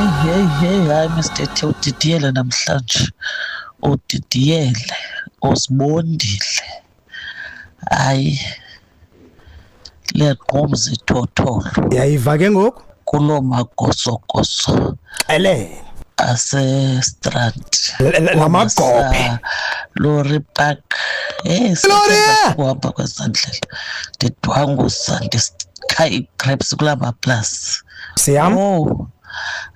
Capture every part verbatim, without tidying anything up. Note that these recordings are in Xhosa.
Hey, hey, hey, hayi Mister T, udidiyele namhlanje, udidiyele, uzibondile. Hayi, liyagqumza ithotholo Yayiva ke ngoku. Kuloo magosogoso Xelele. aseStrand. L- l- lamagophe. Lorry Park. Hey, Lorry! Kuhamba kwezandlela ndidwanguza, ndisikha ii-grapes kulaa maplasi. Siyam. Oh,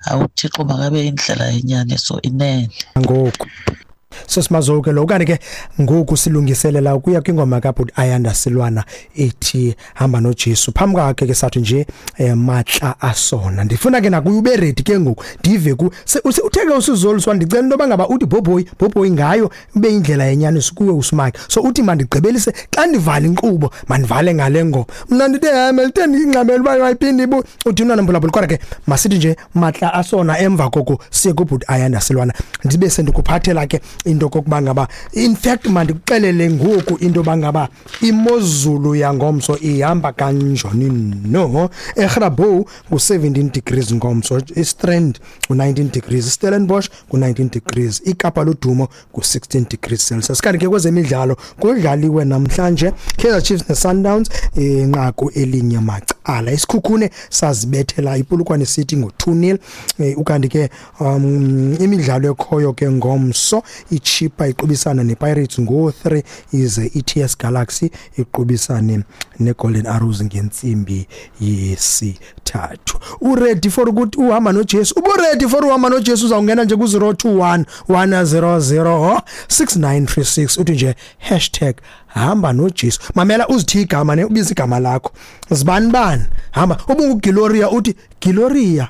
awuThixo makabe indlela yenyaniso inene. Ngoku sosimazoke lo, kanti ke ngoku silungiselela ukuya kwingoma kaBhuti Ayanda Silwana ethi "Hamba noJesu". Phambi kwakhe ke sathi nje eh, "Matla Asona". Ndifuna ke nakuye ube ready ke ngoku, ndive ku se- use- uthe ke usizoliswa, ndicela into yoba ngaba uthi bhobhoyi bhobhoyi ngayo, ibe indlela yenyaniso kuwe usimake. So uthi mandigqibelise xa ndivala inkqubo, mandivale ngale ngoma. Mna ndithe hayi, melithe ndiyingxamele uba mayiphinde ibu uthi mntwana mphulaphula. Kodwa ke masithi nje "Matla Asona", emva koko siye kubhuti Ayanda Silwana. Ndibe sendikuphathela ke into kokuba ngaba, in fact mandikuxelele ngoku into yoba ngaba imozulu yangomso ihamba kanjani. No eGrabouw ngu-seventeen degrees ngomso, iStrand ngu-nineteen degrees, iStellenbosch ngu-nineteen degrees, iKapa Ludumo ngu-sixteen degrees Celsius. Kanti ke kwezemidlalo kudlaliwe namhlanje, Kaizer Chiefs neSundowns inqaku elinye macala, iSikhukhune sazibethela iPolokwane City ngo-two nil. eh, ukanti ke um imidlalo ekhoyo ke ngomso, iChippa iqubisana nePirates ngo-three, ize i-T S Galaxy iqubisane neGolden Arrows ngentsimbi yesithathu. Uready for ukuthi uhamba noJesu? Ubu ready for uhamba noJesu? Uzawungena nje ku-zero two one one zero zero six nine three six, uthi nje hashtag hamba noJesu. Mamela, uzithi igama ne ubiza igama lakho, zibani bani hamba. UbunguGloria, uthi "Gloria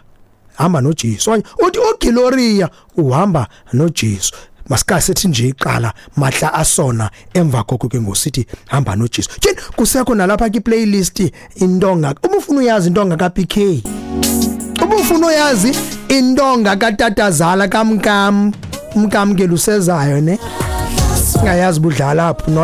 hamba noJesu", okanye uthi "uGloria uhamba noJesu". Masika sethi nje iqala "Matla Asona", emva koko ke ngosithi "Hamba noJesu". Tyhini, kusekho nalapha ki playlist intonga. Uma ufuna uyazi intonga ka P K, uma ufuna uyazi intonga katatazala kamkam, umkam ke lusezayo ne ngayazi budlala apho no.